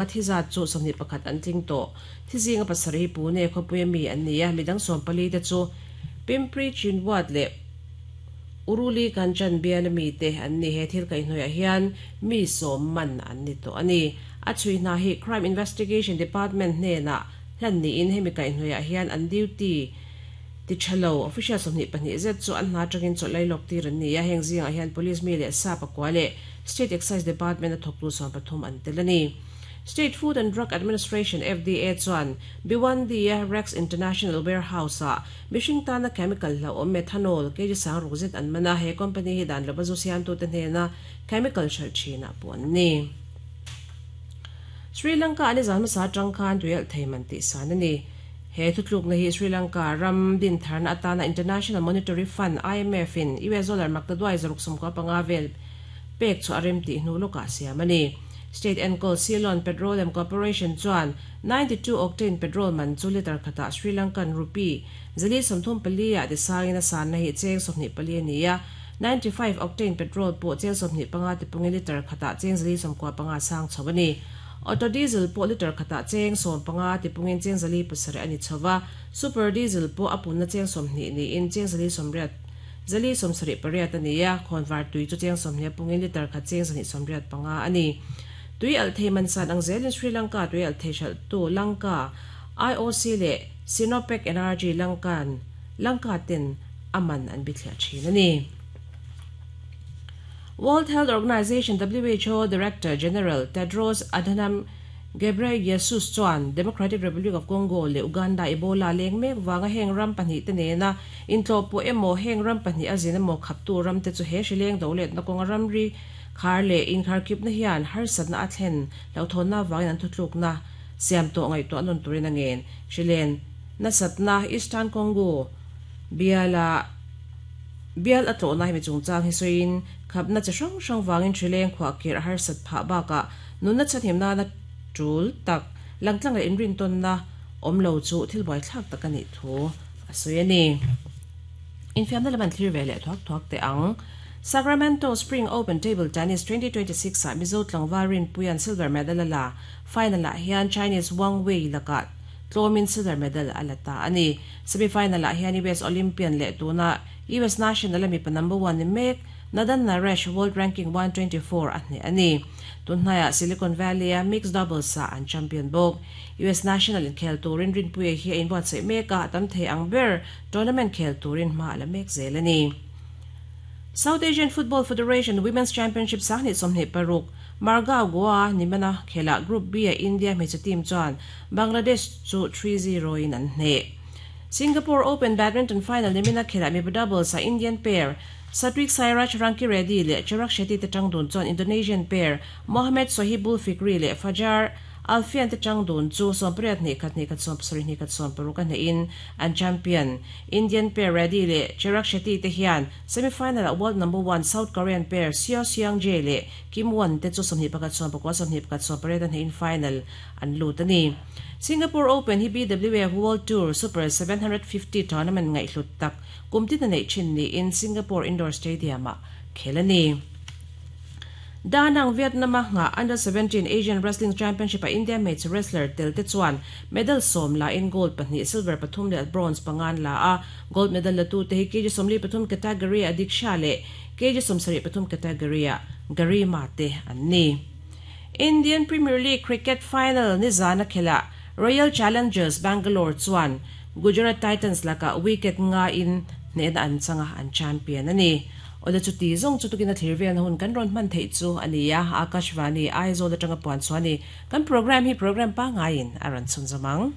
A thi zat chu 21 an tling tawh. Thi zinga pasarih hi Pune khawpuia mi an ni a, midang 14 te chu Pimpri Chinwad leh Uruli Kanchan biala mite an ni. He thil kaihhnawihah hian mi sawm man an ni tawh a ni. A chhui hna hi Crime Investigation Department hnenah hlan niin hemi kaihhnawihah hian an duty ti tha lo official 22 zet chu an hna atangin chawlh lailawk tir an ni a, heng zingah hian Police mi leh sa pakua leh State Excise Department a thawktu 13 an tel a ni. State Food and Drug Administration, FDA, chuan Bhiwandi-a Rex International Warehouse-ah mihring tana chemical hlauhawm methanol kg 6000 zet an man a, he company hi dan lova zu siamtute hnena chemical hralh thinah pawh an ni. Sri Lanka-a nizan hmasa atang khan tuialh thei man tihsan a ni. He thutlukna hi Sri Lanka ram dintharna atana International Monetary Fund, IMF, in US dollar maktaduai 695 vel pek chu a rem tih hnu lawkah siam a ni. State enkawl Ceylon Petroleum Corporation chuan 92 octane petrol man chu litre khatah Sri Lankan rupee 434 ah tisangin a sanna hi cheng 24 a ni a, 95 octane petrol pawh cheng 25 tipungin litre khatah cheng 495 sang chho a ni. Auto diesel pawh litre khatah cheng 15 tipungin cheng 407 a ni chho va, super diesel pawh a punna cheng 20 niin cheng 180 478 a ni a, khawnvar tui chu cheng 20 pungin litre khat cheng 185 a ni. Tui alh thei man san ang zelin Sri Lanka tui alh thei hralhtu Lanka, IOC leh Sinopec Energy Lankan Lanka ten a man an bithliah thin a ni. World Health Organization, WHO, Director General Tedros Adhanom Ghebreyesus chuan Democratic Republic of Congo leh Uganda Ebola leng mek vanga heng ram pahnih te nena intlawhpawh emaw heng ram pahnih a zin emaw khaptu ram te chu he hri leng do letna kawnga ramri khar leh inkharkhipna hian harsatna a thlen hlauhthawnna avangin an thutlukna siam tawh ngaihtuah nawn turin a ngen. Hri len nasatna Eastern Congo biala Bial a tlawhna hemi chungchang hi sawiin khapna chi hrang hrang vangin hrileng khuahkirh a harsat phah bakah nunna chhanhim nana tul tak langtlang leh inrintawnna awm lo chu thil buaithlak tak a nih thu a sawi a ni. Infiamna lam an thlir ve leh thuak thuak teh ang. Sacramento Spring Open Table Tennis 2026 ah Mizo tlangval Rinpuia'n silver medal a la. Final ah hian Chinese Wang Wei lakah tlawmin silver medal a la ta a ni. Semi-final ah hian US Olympian leh tuna US National a mipa number one ni mek Nadan Naresh world ranking 124 a hneh a ni. Tunhnaiah Silicon Valley a mixed doubles ah an champion bawk. US National inkhel turin Rinpuia hi a inbuatsaih mek a, a tam thei ang ber tournament khel turin hma a la mek zel a ni. South Asian Football Federation Women's Championship 2026 Margao Goa nimana khelah Group B-a India hmeichhe team chuan Bangladesh chu 3-0 in an hneh. Singapore Open Badminton final nimina khelah mipa doubles ah Indian pair Satwik Sairaj Rankireddy leh Chirag Shetty te tang dun chuan Indonesian pair Mohamed Sohibul Fikri leh Fajar Alfian te tang dun chu 18 2 2 7 2 16 a hnehin an champion. Indian pair Reddy leh Chirag Shetty te hian semi-final ah world number one South Korean pair Seo Seung Jae leh Kim Won te chu 21 19 21 18 a hnehin final an lut a ni. Singapore Open hi BWF World Tour Super 750 tournament ngaihhlut tak kum tin a neih thin niin Singapore Indoor Stadium-ah khel a ni. Da Nang Vietnam-a nghah Under 17 Asian Wrestling Championship-a India hmeichhe wrestler tel te chuan medal sawm la in gold pahnih, silver pathum leh bronze panga an la a. Gold medal la tute hi kg 43 category-ah Diksha leh kg 73 category-ah Garima te an ni. Indian Premier League cricket final nizana khelah Royal Challengers Bangalore chuan Gujarat Titans lakah wicket nga in hnehna an chang a, an champion a ni. Awle chuti zawng chu tukin a thlir velna hun kan rawn hman theih chu a ni a, Akashvani, Aizawl atanga puan chhuah a ni. Kan programme hi programme pangaiin a rawn chhunzawm ang.